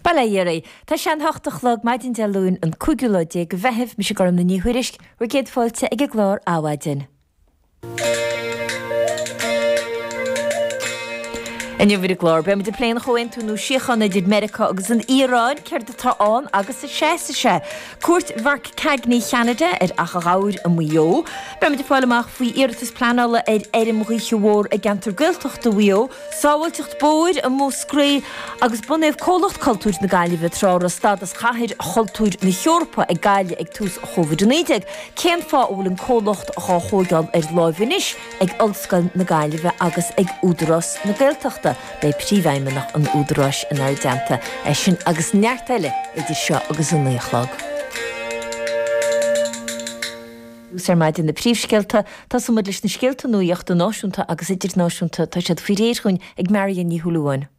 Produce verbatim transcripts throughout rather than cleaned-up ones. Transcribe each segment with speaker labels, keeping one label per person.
Speaker 1: Bail ó Dhia oraibh. Tá sé an hocht a chlog maidin Dé Luain an cúigiú lá déag de Mheitheamh, mise Gormlaith Ní Thuairisg, bhur gcéad fáilte ag an gclár Adhmhaidin. Inniu ar an gclár, beidh muid ag plé an chomhaontú nua síochána idir Meiriceá agus an Iaráin, céard atá ann agus an seasfaidh sé? Cuairt Mharc Carney Cheanada ar Achadh Ghabhair i Maigh Eo. Beidh muid ag fáil amach faoi iarratas pleanála ar fheirm ghaoithe mhór i gceantar Gaeltachta Mhaigh Eo, sábháilteacht bóthair i Múscraí agus bunaíodh Comhlacht Cultúir na Gaillimhe tráth a raibh stádas Chathair Chultúir na hEorpa ag Gaillimh ag tús Chóivid a naoi déag. Cén fáth a bhfuil an comhlacht dhá thóigeáil ar láimh anois ag Ollscoil na Gaillimhe agus ag Údarás na Gaeltachta? Beidh Príomhfheidhmeannach an Údaráis inár dteannta. É sin agus neart eile idir seo agus a naoi a chlog. Tús ar maidin na príomhscéalta, tosóidh muid leis na scéalta nuachta náisiúnta agus idirnáisiúnta. Tá siad faoi réir dhúinn ag Marion Ní Shúilleabháin.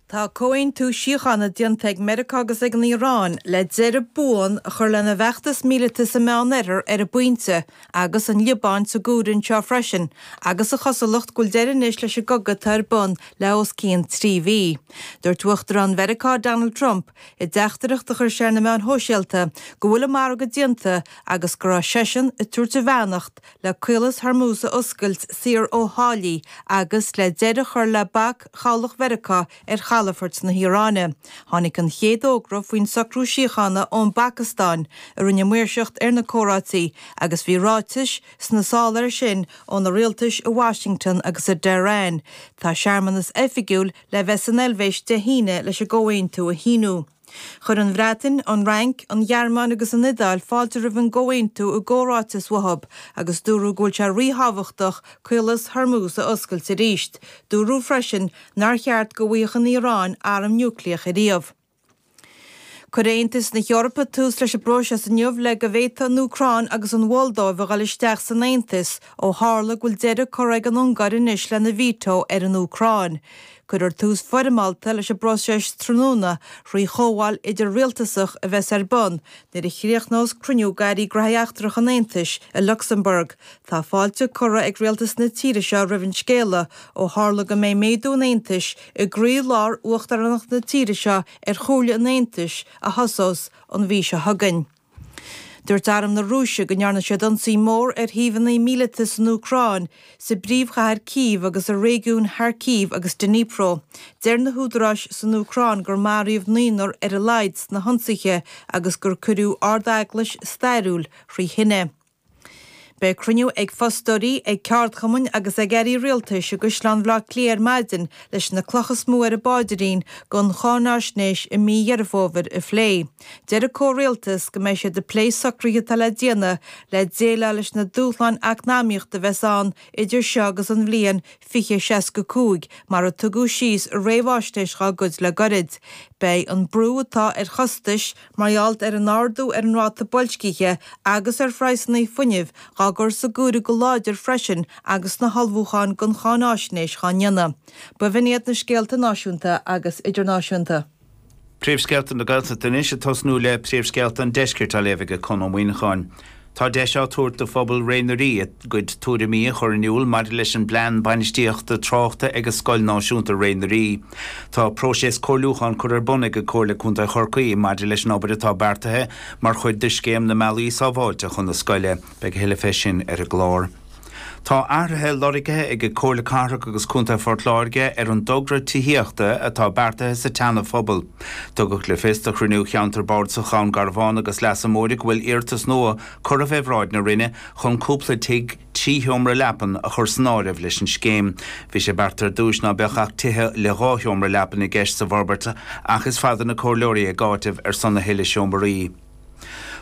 Speaker 2: Tá comhaontú síochána déanta ag Meiriceá agus ag an Iaráin le deireadh buan a chur lena bhfeachtas míleata sa Meánoirthear ar an bpointe, agus an Liobáin sa gcomhaireamh anseo freisin, agus an chosúlacht go bhfuil deireadh anois leis an gcogadh atá ar bun le os cionn trí mhí. Dúirt Uachtarán Mheiriceá Donald Trump i dteachtaireacht a chuir sé ar na meáin shóisialta go bhfuil an margadh déanta agus go raibh seisean ag tabhairt a bheannacht le Caolas Hormuz a oscailt saor ó tháillí agus le deireadh a chur le bac chabhlach Mheiriceá ar chalafoirt na hIaráine. Tháinig an chéad fhógra faoin socrú síochána ón bPacastáin, a rinne maoirseacht ar na comhráití, agus bhí ráitis sna sála air sin ó na rialtais i Washington agus i dTehran. Tá searmanas oifigiúil le bheith san Eilvéis Dé hAoine leis an gcomhaontú a shíniú. Chuir an Bhreatain, an Fhrainc, an Ghearmáin agus an Iodáil fáilte roimh an gcomhaontú i gcomhráiteas uathu agus dúradh go bhfuil sé ríthábhachtach Caolas Hormuz a oscailt arís. Dúradh freisin nár cheart go bhfaigheadh an Iaráin arm núicléach ariamh. Cuirfidh Aontas na hEorpa tús leis an bpróiseas inniu le go bhféadfadh an Úcráin agus an Mholdóiv a dhul isteach san Aontas ó tharla go bhfuil deireadh curtha ag an Ungáir anois lena veto ar an Úcráin. Cuirfear tús foirmeálta leis an bpróiseas tráthnóna thrí chomhdháil idir-rialtasach a bheas ar bun nuair a chríochnós cruinniú d'airí gnóthaí eachtracha an Aontais i Lucsamburg. Tá fáilte curtha ag rialtas na tíre seo roimh an scéala ó tharla go mbeidh méadú an Aontais i gcroí-lár uachtaránacht na tíre seo ar Chomhairle an Aontais a thosós an mhí seo chugainn. Dúirt Arm na Rúise go ndearna siad ionsaí mór ar shuíomhanna míleata san Úcráin, sa bpríomhchathair Cív agus i réigiúin Kharkiv agus Dnipro. Deir na húdaráis san Úcráin gur maraíodh naonúr ar a laghad sna hionsaithe agus gur cuireadh ard-eaglais stairiúil thrí thine. Beidh cruinniú ag fostóirí, ag ceardchumainn agus ag airí rialtais i gCaisleán Bhaile Átha Cliath ar maidin leis na clocha is mó ar an bpáidrín don cháináisnéis i mí Dheireadh Fómhair a phlé. Deir an comhrialtas go mbeidh siad ag plé socruithe atá le déanamh le déileáil leis na dúshláin eacnamaíochta a bheas ann idir seo agus an bhliain fiche seasca cúig, mar a tugadh síos i réamhaisnéis dhá gcuid le gairid. Beidh an brú atá ar chostais mar gheall ar an ardú ar an ráta boilscithe agus ar phraghsanna fuinnimh dhá gcur sa gcomhaireamh go láidir freisin agus na hullmhúcháin don cháináisnéis dhá ndéanamh. B'in iad na scéalta náisiúnta agus idirnáisiúnta.
Speaker 3: Príomhscéalta na Gaeltachta anois ag tosnú le príomhscéalta an Deiscirt á léamh ag Conn Ó Muíneacháin. Tá deis á tabhairt do phobal Ré na Rí a gcuid tuairimí a chur in iúl maidir leis an bPlean Bainistíochta Tráchta ag Scoil Náisiúnta Ré na Rí. Tá próiseas comhairliúcháin curtha ar bun ag Comhairle Contae Chorcaí maidir leis an obair atá beartaithe mar chuid de Scéim na mBealaí Sábháilte chun na Scoile. Beidh a thuilleadh fé sin ar an gclár. Tá athruithe lorgaithe ag Comhairle Cathrach agus Contae Phort Láirge ar an dtogra tithíochta atá beartaithe sa tSeana-Phobal. Tugadh le fios do chruinniú Cheantar Bardasach Dhún Garbhán agus Leasa Móire go bhfuil iarratas nua curtha fé bhráid na Roinne chun cúpla tigh trí sheomra leapan a chur san áireamh leis an scéim. Bhí sé beartaithe ar dtús ná beadh ach tithe le dhá sheomra leapan i gceist sa bhforbairt ach is fada na comhairleoirí ag áiteamh ar son a thuilleadh seomraí.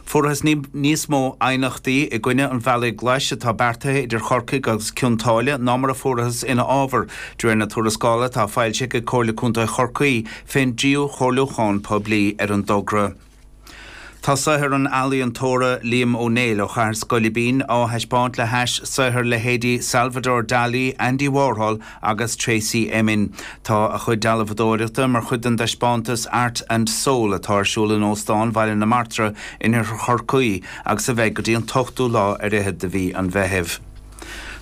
Speaker 3: Fuarthas níos mó aighneachtaí i gcoinne an bhealaigh ghlais atá beartaithe idir Chorcaigh agus Cionn tSáile ná mar a fuarthas ina fhábhar, de réir na tuarascála atá foilsithe ag Comhairle Contae Chorcaí fén dtríú chomhairliúchán poiblí ar an dtogra. Tá saothar an ealaíontóra Liam Ó Néill ó Chathair Scoilbín á thaispeáint le hais saothar leithéidí Salvador Dali, Andy Warhol agus Tracey Emin. Tá a chuid dealbhadóireachta mar chuid den dtaispeántas Art and Soul atá ar siúl in Óstán Bhaile na Martra in Oirthear Chorcaí agus a bheidh go dtí an t-ochtú lá ar fhichead de mhí an Mheithimh.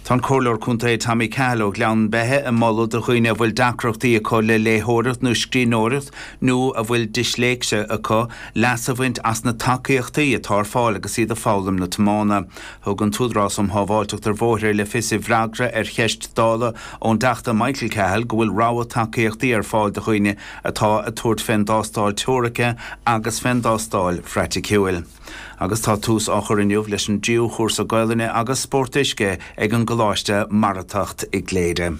Speaker 3: Tá an Comhairleoir Contae Tommy Cahill ó Ghleann Beithe ag moladh do dhaoine a bhfuil deacrachtaí acu le léitheoireacht nó scríbhneoireacht nó a bhfuil disléicse acu leas a bhaint as na tacaíochtaí atá ar fáil agus iad ag foghlaim na tiomána. Thug an tÚdarás um Shábháilteacht ar Bhóithre le fios i bhfreagra ar cheist Dála ón dTeachta Michael Cahill go bhfuil rogha tacaíochtaí ar fáil do dhaoine atá ag tabhairt fén dtástáil teoirice agus fén dtástáil phraiticiúil. Agus tá tús á chur inniu leis an dtríú chúrsa Gaelainne agus spórt uisce ag an gColáiste Maratacht i gCléire.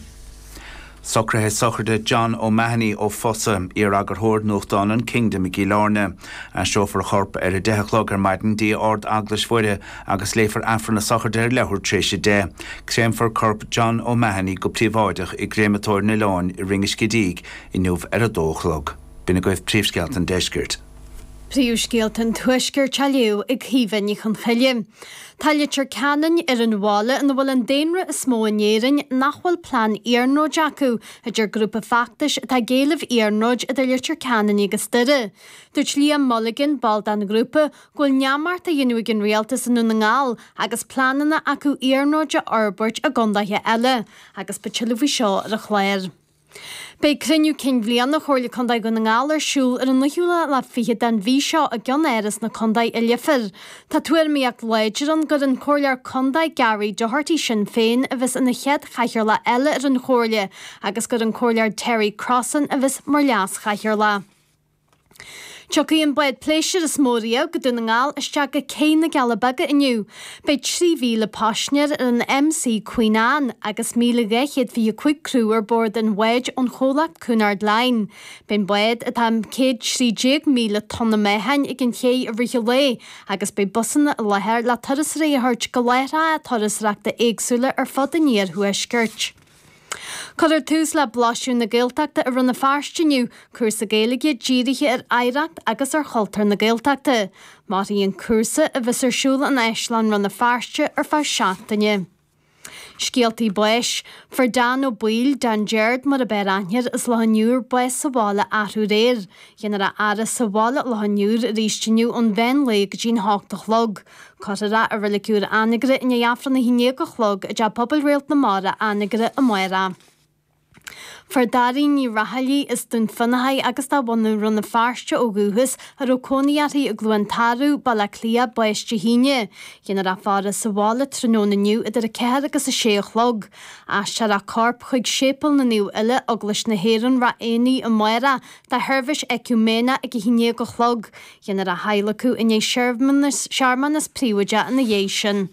Speaker 3: Socruithe sochraide John O'Mahony ó Fosa, iar-eagarthóir nuachtáin an Kingdom i gCill Airne. Aistreofar a chorp ar a deich a chlog ar maidin dtí Ard-Eaglais Mhuire agus léifear Aifreann na sochraide ar leathuair tar éis a deich. Créamfar corp John O'Mahony go príobháideach i gcréamatóir an Oileáin i Rinn an Scidígh inniu ar a dó a chlog. B'in agaibh príomhscéalta an deiscirt.
Speaker 4: Príomhscéalta an Tuaiscirt á léamh ag Caoimhe Ní Chonchoille. Tá Leitir Ceanainn ar an bhaile ina bhfuil an daonra is mó in Éirinn nach bhfuil plean iarnróid acu, a deir grúpa feachtais atá ag éileamh iarnróid idir Leitir Ceanainn agus Doire. Dúirt Liam Mulligan, ball den ghrúpa, go bhfuil neamart á dhéanamh ag an rialtas i nDún na nGall agus pleananna acu iarnróid a fhorbairt i gcontaetha eile, agus beidh tuilleadh faoi seo ar an chlár. Beidh cruinniú cinn bhliana Chomhairle Contae Dhún na nGall ar siúl ar an naoú lá fichead den mhí seo i gceannáras na contae i Leifear. Tá tuairimíocht láidir ann gur an Comhairleoir Contae Gary Doherty Sinn Féin a bheas ina chéad chathaoirleach eile ar an chomhairle agus gur an Comhairleoir Terry Crossan a bheas mar leas-chathaoirleach. Tiocfaidh an bád pléisiúir is mó riamh go Dún na nGall isteach go Cé na gCealla Beaga inniu. Beidh trí mhíle paisinéir ar an MC Queen Anne agus míle dhá chéad fiche cúig criú ar bord an bháid ón chomhlacht Cunard Line. Beidh an bád atá céad trí déag míle tonna meáchain ag an ché i rith an lae agus beidh busanna i láthair le turasóirí a thabhairt go láithreacha turasóireachta éagsúla ar fud an iarthuaiscirt. Cuirfear tús le Blaiseadh na Gaeltachta i Rann na Feirste inniu, cúrsa Gaeilge dírithe ar oidhreacht agus ar chultúr na Gaeltachta. Mairfidh an cúrsa, a bheas ar siúl in Áislann Rann na Feirste ar feadh seachtaine. Scéaltaí báis. Fuair Dan Ó Baoill, Dan Gerard mar ab fhearr aithne air, as Loch an Iúir, bás sa bhaile arú aréir. Dhéanfar a fhaire sa bhaile Loch an Iúir arís inniu ón mheán lae go dtí'n hocht a chlog. Cuirfear é i Reilig Úr Anagaire i ndiaidh Aifreann a haon déag a chlog i dTeach Pobail Réalt na Mara, Anagaire, amárach. Fuair Dairín Ní Raghallaigh as Dún Fionnachaidh agus de bhunadh Rann na Feirste ó dhúchas, a raibh cónaí uirthi i gCluain Tarbh, Baile Átha Cliath, bás Dé hAoine. Dhéanfar a faire sa bhaile tráthnóna inniu idir a ceathair agus a sé a chlog. Aistreofar a corp chuig Séipéal na Naomh Uile, Eaglais na hÉireann, Ráth Éanaigh amárach do sheirbhís eiciúiméineach ag a haon déag a chlog. Dhéanfar a hadhlacadh i ndiaidh searmanas príobháideach ina dhiaidh sin.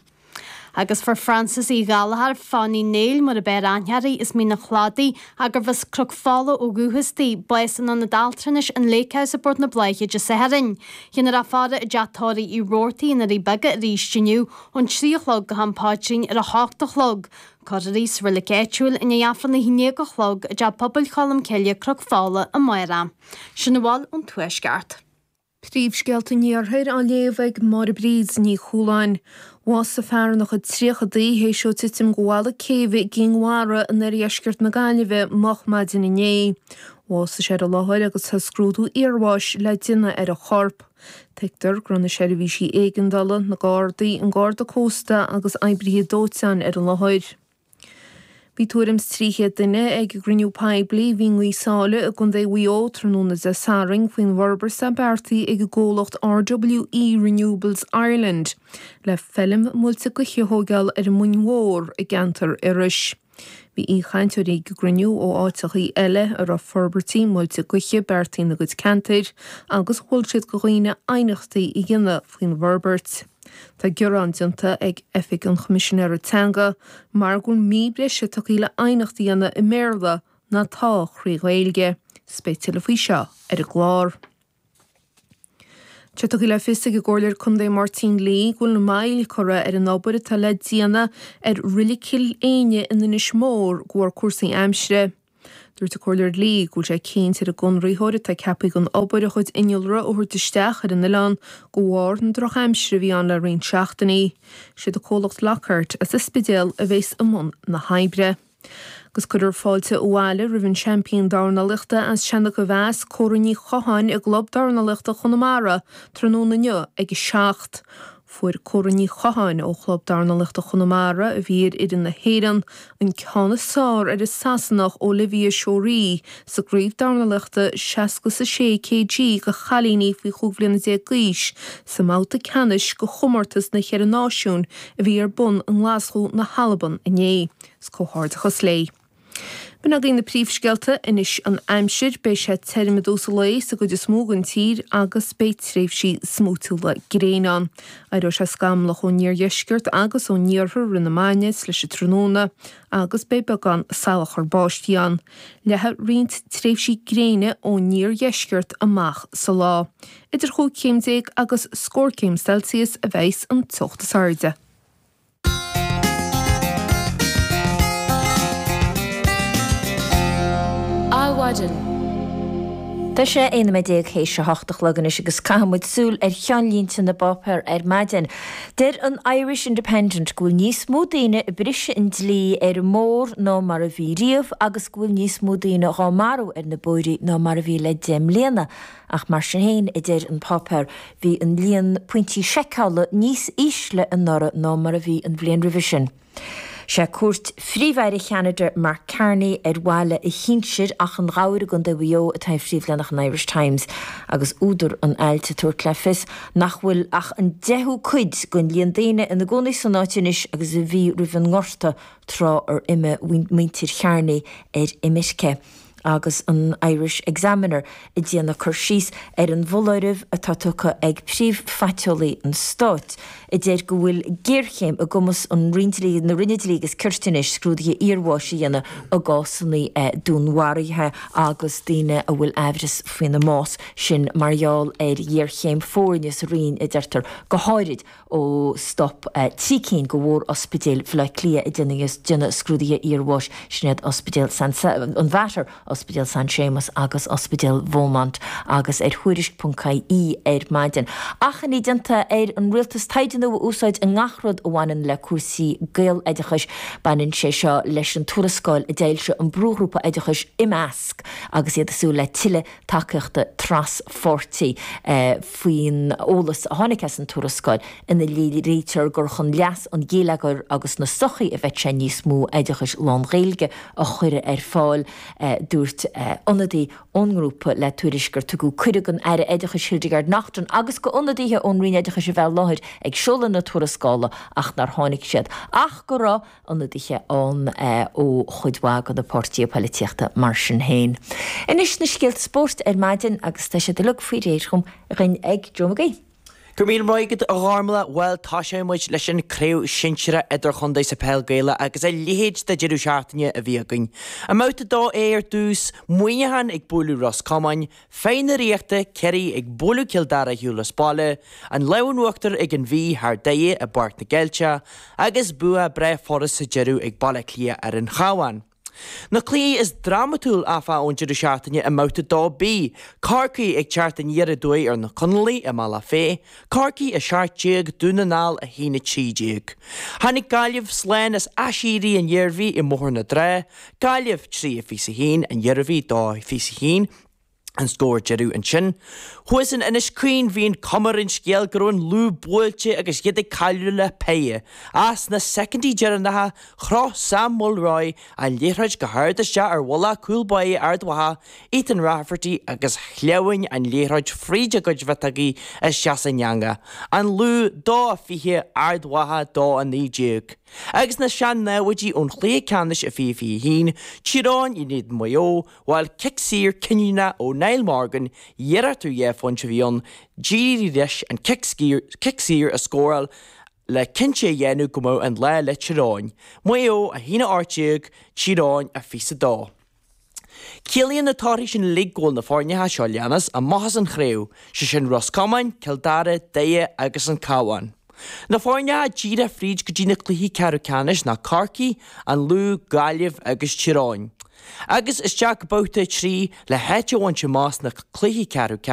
Speaker 4: Agus fuair Frances Uí Ghallchóir, Fanny Néill mar ab fhearr aithne uirthi, as Mín an Chladaigh, gurbh as Cnoc Fola ó dhúchas di, bás in ionad altranais an Lake House i bPort na Bláiche Dé Sathairn. Dhéanfar a faire i dteach tórraimh Uí Robhartaigh i nDoirí Beaga arís inniu ón trí a chlog go ham paidrín ar a hocht a chlog. Cuirfear í sa reilig áitiúil i ndiaidh Aifreann a haon déag a chlog i dTeach Pobail Cholm Cille, Cnoc Fola, amárach. Sin a bhfuil ón Tuaisceart.
Speaker 5: Príomhscéalta an Iarthair á léamh ag Máire Bríd Ní Chualáin. Bhásaigh fear ina chuid tríochadaí théis dó titim de bhalla céibhe i gCinn Mhara in oirdheisceart na Gaillimhe moch maidin inné. Bhásaigh sé ar an láthair agus tá scrúdú iarbháis le déanamh ar a chorp. Tuigtear go raibh na seirbhísí éigeandála, na Gardaí, an Garda Cósta agus oibrithe dóiteáin ar an láthair. Bhí tuairim is trí chéad duine ag an gcruinniú poiblí a bhí i nGaoth Sáile i gContae Mhaigh Eo tráthnóna Dé Sathairn faoin bhforbairt atá beartaithe ag an gcomhlacht RWE Renewables Ireland le feilm muilte gaoithe a thógáil ar an Mhuin Mhór i gceantar Iorrais. Bhí aoichainteoirí ag an gcruinniú ó áiteachaí eile a raibh forbairtí muilte gaoithe beartaithe ina gcuid ceantair agus mhol siad do dhaoine aighneachtaí a dhéanamh faoin bhforbairt. Tá gearán déanta ag Oifig an Choimisinéara Teanga mar go bhfuil mí breise tugtha le aighneacht a dhéanamh i mBéarla ná tá thrí Ghaeilge. 'S beidh tuilleadh faoi seo ar an gclár. Tá tugtha le fios ag an gComhairleoir Contae Máirtín Lee go bhfuil moill curtha ar an obair atá le déanamh ar Reilig Chill Éinne in Inis Mór de bharr cúrsaí aimsire. Dúirt an Comhairleoir Lee go bhfuil sé cinnte ar an gconraitheoir atá ceaptha don obair a chuid innealra a thabhairt isteach ar an oileán de bharr na drochaimsire a bhí ann le roinnt seachtainí. Siad an comhlacht Lockhart as an Spidéal a bheas i mbun na hoibre. Agus cuirfear fáilte abhaile roimh an seaimpín dornálaíochta as Seanadh Mheas, Córa Ní Chatháin i gClub Dornálaíochta Chonamara tráthnóna inniu ag a seacht. Fuair Córa Ní Chatháin ó Chlub Dornálaíochta Chonamara a bhí ar fhoireann na hÉireann an ceann is fearr ar an Sasanach Olivia Shorey sa gcraobh dornálaíochta seasca is a sé kg do chailíní faoi chúig bhliana déag d'aois sa mbabhta ceannais de chomórtas na Cheithre Náisiún a bhí ar bun i nGlaschú na hAlban inné. Is comhghairdeachas léi. B'in againn na príomhscéalta anois an aimsir, beidh sé tirim i dtús an lae sa gcuid is mó den tír agus beidh tréimhsí smúitiúla gréine ann. Éireoidh sé scamallach ón iardheisceart agus ón iarthar roimh na maidne is leis an tráthnóna agus beidh beagán salachar báistí ann. Leathfaidh roinnt tréimhsí gréine ón iardheisceart amach sa lá. Idir chúig chéim déag agus scór céim Celsius a bheas an teocht is airde.
Speaker 1: Adhmhaidin. Tá sé aon nóiméad déag théis a hocht a chlog anois agus caithfidh muid súil ar cheannlínte na bpáipéar ar maidin. Deir an Irish Independent go bhfuil níos mó daoine ag briseadh an dlí ar an mbóthar ná mar a bhí riamh agus go bhfuil níos mó daoine dhá marú ar na bóithre ná mar a bhí le deich mbliana. Ach mar sin féin, a deir an páipéar, bhí an líon pointí seiceála níos ísle anuraidh ná mar a bhí an bhliain roimhe sin. Sé cuairt Phríomh-Aire Cheanada Mark Carney ar bhaile a shinsir, Achadh an Ghabhair i gContae Mhaigh Eo atá ar phríomhleathanach an Irish Times agus údar an ailt ag tabhairt le fios nach bhfuil ach an deichiú cuid den líon daoine ina gcónaí san áit anois agus a bhí roimh an ngorta tráth ar imigh muintir Charney ar imirce. agus an Irish Examiner ag déanamh cur síos ar an bhfoláireamh atá tugtha ag príomh-phaiteolaí an stáit, a deir go bhfuil géarchéim i gcumas an Roinn Dlí, na Roinne Dlí agus Cirt anois scrúduithe iarbháis a dhéanamh i gcásanna dúnmharuithe agus daoine a bhfuil aimhreas faoina mbás, sin mar gheall ar ghéarchéim foirne sa Roinn, a deirtear, go háirid ó stop trí cinn de mhór-ospidéil Bhaile Átha Cliath ag déanamh scrúduithe iarbháis, sin iad Ospidéal an Mhater, Ospidéal San Séamas agus Ospidéal Beaumont, agus ar Thuairisc ponc ie ar maidin. Achainí déanta ar an rialtas taighde nua a úsáid i ngach rud a bhaineann le cúrsaí Gaeloideachais. Baineann sé seo leis an tuarascáil a d'fhoilsigh an brúghrúpa oideachais Imeasc agus iad ag súil le tuilleadh tacaíochta traspháirtí faoin eolas a tháinig as an tuarascáil ina léirítear gur chun leas an gheilleagair agus na sochaí a bheadh sé níos mó oideachais lán-Ghaeilge a chur ar fáil. Dúirt ionadaí ón ngrúpa le Tuairisc gur tugadh cuireadh don Aire Oideachais Hildegarde Naughton agus d'ionadaithe ón Roinn Oideachais a bheith i láthair ag seoladh na tuarascála ach nár tháinig siad ach go raibh ionadaithe ann ó chuid mhaith de na páirtithe poilitíochta mar sin féin. Anois na scéalta spóirt ar maidin agus tá siad uilig faoi réir dhúinn ag Joe Mag Aoidh.
Speaker 6: Go raibh míle maith agat a Ghormlaith. Bhuel, tosóidh muid leis an Craobh Sinsearach Idirchontae sa Peil Gaelach agus a leithéid de deireadh seachtaine a bhí againn. I mBabhta dó A ar dtús, Muineachán ag bualadh Ros Comáin, Feadh na Ríochta, Ciarraí ag bualadh Cill Dara ar shiúl as baile, an lámh in uachtar ag an Mhí thar Doire i bPáirc na gCeilteach, agus bua breá furast sa deireadh ag Baile Átha Cliath ar an Chabhán. Na cluichí is drámatúil, áfach, ón deireadh seachtaine i mBabhta dó B, Corcaigh ag teacht aniar aduaidh ar na Conallaigh i mBealach Féich, Corcaigh a seacht déag, Dún na nGall a haon a trí déag. Tháinig Gaillimh slán as Aiséirí an Iarmhí i mBóthar na Trá, Gaillimh trí a fiche a haon, an Iarmhí dó a fiche a haon, an scór deiridh ansin. Thuas in Inis Caoin bhí an cuma ar an scéal go raibh an Lú buailte agus iad ag cailleadh le péire. Ach sna soicindí deireanacha, chroch Sam Mulroy an liathróid go hard isteach ar mhullach cúl báire Ard Mhacha, Ethan Rafferty agus shleamhain an liathróid fríd a gcuid mhiotógaí isteach san eangach. An Lú dó a fiche, Ard Mhacha dó a naoi déag. Agus na sean-naimhde ón chluiche ceannais i fiche fiche a haon, Tír Eoghain in éadan Mhaigh Eo, Bhuel, cic saor cinniúnach ó Niall Morgan, iarracht ar dhá phointe a bhí ann, d'éirigh leis an cic saor a scóráil le cinnte a dhéanamh go mbeadh an lá le Tír Eoghain. Maigh Eo a haon a ocht déag, Tír Eoghain a fiche a dó. Ciallaíonn na torthaí sin uilig go bhfuil na foirneacha seo leanas amach as an chraobh, sé sin Ros Comáin, Cill Dara, Doire agus an Cabhán. Na foirneacha díreach fríd go dtí na cluichí ceathrú ceannais ná Corcaigh, An Lú, Gaillimh agus Tír Eoghain. Agus isteach go babhta a trí le háit a bhaint amach sna cluichí ceathrú ceannais.